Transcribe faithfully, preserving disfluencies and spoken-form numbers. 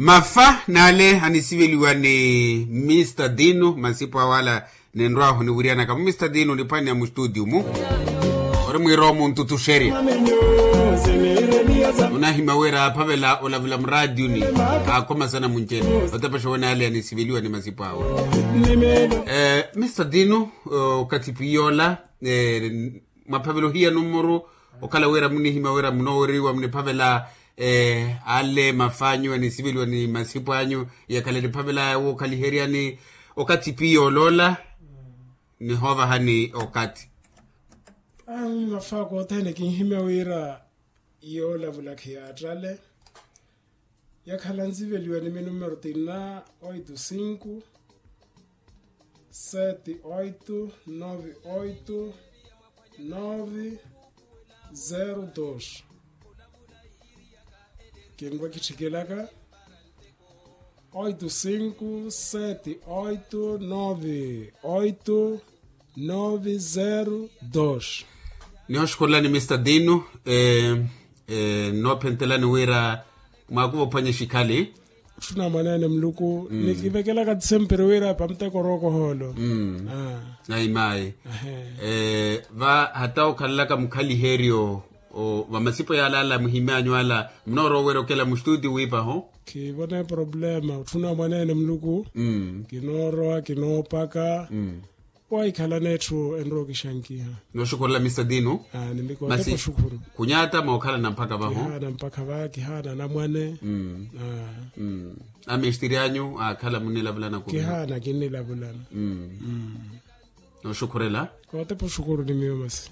Mafa n'ale anisiveliwa ni mista dino masipo awala. Ninrwahu niwiryanaka mu mista dino niphwanya mu studio mu ori mwiroomu ntutuxerya. Onahima wira aphavela olavula muraationi akhomasana munjeni. Otepexa wen'ale anisiveliwa ni masipo awe. Mista dino, okathi pwiyoola, mwaphavela ohiya numuru okhala wira munihima wira munooweriwa muniphavela ale mafanyu anisiveliwa ni masipo anyu. Yakhala niphavela wookhaliheryani okathi piya oloola nihoovahani okathi. Ayi mafaka othene kinhimya wira yoolavula khiyaattale. Yakhala nsiveliwa ni minumero tina oito cinco sete oito nove oito nove zero dos. Kinrwa kitthikelaka oito cinco sete oito nove oito nove zero dos. Nihooxukhulelani mista dino, noophentelani wira mwakuva ophwanya exikhali. Otthuna mwaneene muluku nikivekelaka ti sempere wira pamuteko orookohoolo. Ayi mayi. Va hata okhalalaka mukhaliheryo vamasipo yala ala muhimyanyu ala munoorowa owerya okela mustutio wiipaho. Khivona eproblema otthuna mwaneene muluku. Kinoorowa kinoopaka. Wahikhalana etthu enrowa okixankiha. Nooxukhurela mista dino. Masi khunyaata mookhalana mpakha vaho. Kihaana mpakha va kihaana anamwane. Amistiri anyu aakhala munilavulana khuvi? Kihaana kinnilavulana. Nooxukhurela. Kootepa oxukuru ni miyo masi.